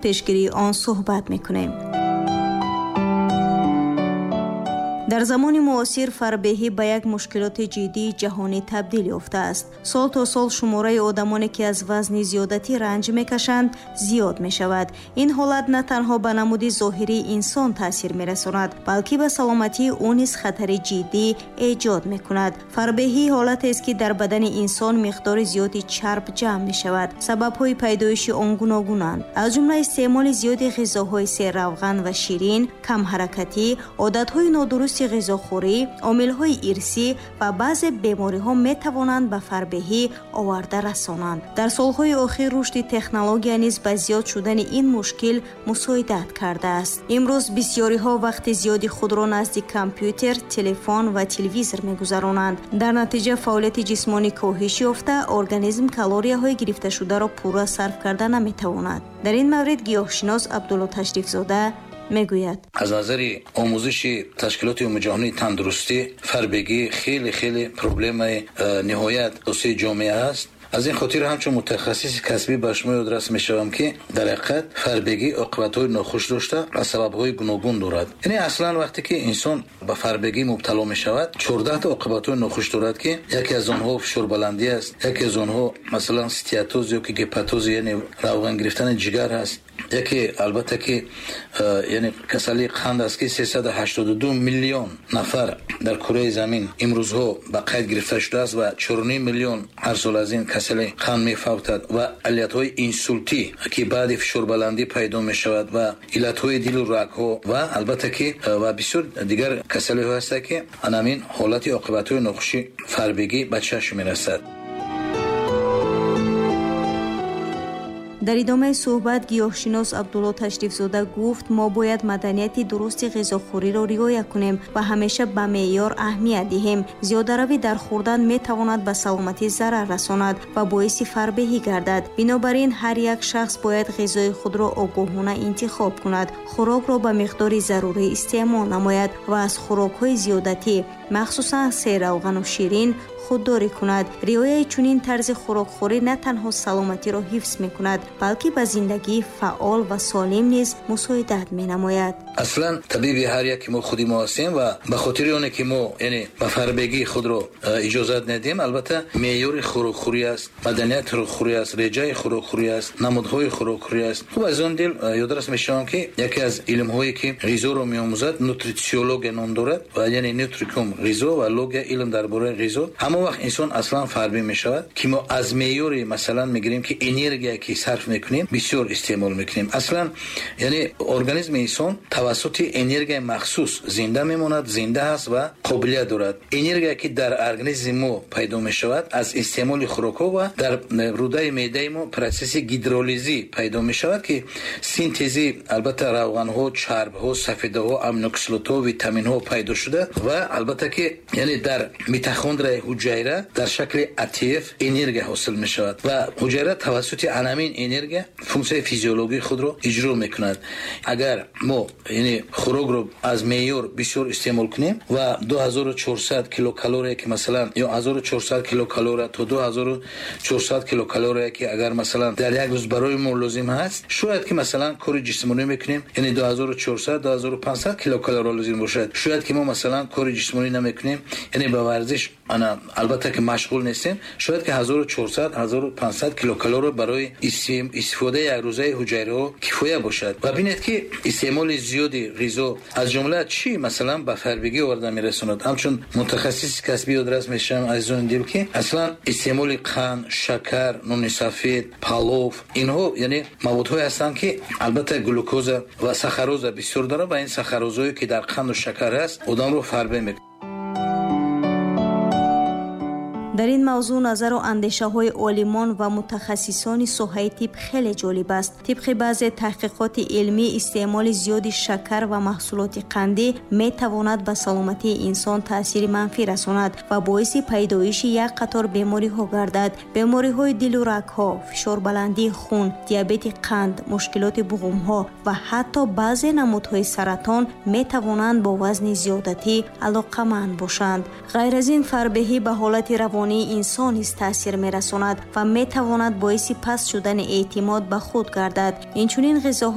Пешгирии он суҳбат мекунем. Дар замони муосир фарбеҳӣ ба як мушкилоти ҷиддии ҷаҳонӣ табдил ёфтааст. Сол то сол шумораи одамоне, ки аз вазни зиёдатӣ ранҷ мекашанд, зиёд мешавад. Ин ҳолат на танҳо ба намуди зоҳирии инсон таъсир мерасонад, балки ба саломатии ӯ низ хатари ҷиддӣ эҷод мекунад. Фарбеҳӣ ҳолатест, ки дар бадани инсон миқдори зиёди чарб ҷамъ мешавад. Сабабҳои пайдоиши он гуногунанд, аз ҷумла истеъмоли зиёди ғизоҳои серравған ва ширин, камҳаракатӣ, одатҳои нодурусти ғизохӯрӣ, омилҳои ирсӣ ва баъзе бемориҳо метавонанд ба фарбеҳӣ оварда расонанд. Дар солҳои охир рушди технология низ ба зиёд шудани ин мушкил мусоидат кардааст. Имрӯз бисёриҳо вақти зиёди худро назди компютер, телефон ва телевизор мегузаронанд. Дар натиҷа фаъолияти ҷисмонӣ коҳиш ёфта, организм калорияҳои гирифташударо пурра сарф карда наметавонад. Дар ин маврид гиёҳшинос Абдулло Ташрифзода мегӯяд: аз назари омӯзиши Ташкилоти Умумиҷаҳонии Тандурустӣ, фарбегӣ хеле хеле проблемаи ниҳоят асосии ҷомеа аст. Аз ин хотир ҳамчун мутахассиси касбӣ ба шумо ёдрас мешавам, ки дар ҳақиқат фарбегӣ оқибатҳои нохуш дошта ва сабабҳои гуногун дорад. Яъне аслан вақте ки инсон ба фарбегӣ мубтало мешавад, 14 оқибатҳои нохуш дорад, ки яке аз онҳо фишорбаландӣ аст, яке аз онҳо масалан стеатоз ё ки гепатоз, яъне равған гирифтани ҷигар аст, яке албатта ки яъне касалии қанд аст, ки 382 миллион нафар дар кураи замин имрӯзҳо ба қайд гирифта шудааст ва 4,5 миллион ҳар сол аз ин касали қанд мефавтад, ва иллатҳои инсултӣ, ки баъди фишорбаландӣ пайдо мешавад, ва иллатҳои дилу рагҳо, ва албатта ки ва бисёр дигар касалиҳо ҳастанд, ки анамин ҳолати оқибатҳои нохуши фарбегӣ ба чашм мерасад. Дар идомаи суҳбат гиёҳшинос Абдулло Ташрифзода гуфт, мо бояд маданияти дурусти ғизохӯриро риоя кунем ва ҳамеша ба меъёр аҳамият диҳем. Зиёдаравӣ дар хӯрдан метавонад ба саломатӣ зарар расонад ва боиси фарбеҳӣ гардад. Бинобар ин ҳар як шахс бояд ғизои худро огоҳона интихоб кунад, хӯрокро ба миқдори зарурӣ истеъмол намояд ва аз хӯрокҳои зиёдатӣ, махсусан серравғану ширин, худдорӣ кунад. Риояи чунин тарзи хӯрокхӯрӣ на танҳо саломатиро ҳифз мекунад, балки ба зиндагии фаъол ва солим низ мусоидат менамояд. Аслан табиби ҳар яке мо худи мо ҳастем ва ба хотири оне ки мо яъне ба фарбегии худро иҷозат надиҳем, албатта меъёри хӯрокхӯрӣ аст, маданияти хӯрокхӯрӣ аст, реҷаи хӯрокхӯрӣ аст, намудҳои хӯрокхӯрӣ аст. Хуб, аз он дил ёдрас мешавам, ки яке аз илмҳое ки ғизоро меомӯзад, нутрициология ном дорад, ва яъне нутрикум ғизо ва логия илм дар бораи ғизо. Ҳамон вақт инсон аслан фарбӣ мешавад, ки мо аз меъёри масалан мегирем, ки энергия ки сарф мекунем, бисёр истеъмол мекунем. Аслан яъне организми инсон тавассути энергияи махсус зинда мемонад, зинда аст ва қобилият дорад. Энергия ки дар организми мо пайдо мешавад аз истеъмоли хӯрокҳо ва дар рӯдаи меъдаи мо процесси гидролизӣ пайдо мешавад, ки синтези албатта равғанҳо, чарбҳо, сафедаҳо, аминокислотаҳо, витаминҳо пайдо шуда ва албатта ки яъне дар митохондрияи ҳуҷайра дар шакли АТФ энергия ҳосил мешавад ва ҳуҷайра тавассути анамин энергия функсияи физиологии худро иҷро мекунад. Агар мо яъне хӯрокро аз меъёр бисёр истеъмол кунем ва 2400 килокалория ки масалан ё 1400 килокалория то 2400 килокалория ки агар масалан дар як рӯз барои мо лозим ҳаст, шояд ки масалан кори ҷисмонӣ мекунем, яъне 2400 2500 килокалория лозим бошад. Шояд ки мо масалан кори ҷисмонӣ намекунем, яъне ба варзиш ана албатта ки машғул нестем, шояд ки 1400 1500 килокалория барои истифодаи якрӯзаи ҳуҷайраҳо кифоя бошад. Ва бинед, ки истеъмоли зиёди ғизо аз ҷумла чӣ масалан ба фарбегӣ оварда мерасонад. Ҳамчун мутахассиси касбӣ ёдрас мешавам, азизони дил, ки аслан истеъмоли қанд, шакар, нони сафед, палов, инҳо яъне маводҳое ҳастанд, ки албатта глюкоза ва сахароза бисёр дорад ва ин сахарозое ки дар қанду шакар ҳаст, одамро фарбе мекунад. Дар ин мавзӯъ назару андешаҳои олимон ва мутахассисони соҳаи тиб хеле ҷолиб аст. Тибқи баъзе таҳқиқоти илмӣ, истеъмоли зиёди шакар ва маҳсулоти қандӣ метавонад ба саломатии инсон таъсири манфӣ расонад ва боиси пайдоиши як қатор бемориҳо гардад. Бемориҳои дилу рагҳо, фишорбаландии хун, диабети қанд, мушкилоти буғумҳо ва ҳатто баъзе намудҳои саратон метавонанд бо вазни зиёдатӣ алоқаманд бошанд. Ғайр аз ин, фарбеҳӣ ба ҳолати равонӣ равонии инсон низ таъсир мерасонад ва метавонад боиси паст шудани эътимод ба худ гардад. Инчунин ғизоҳои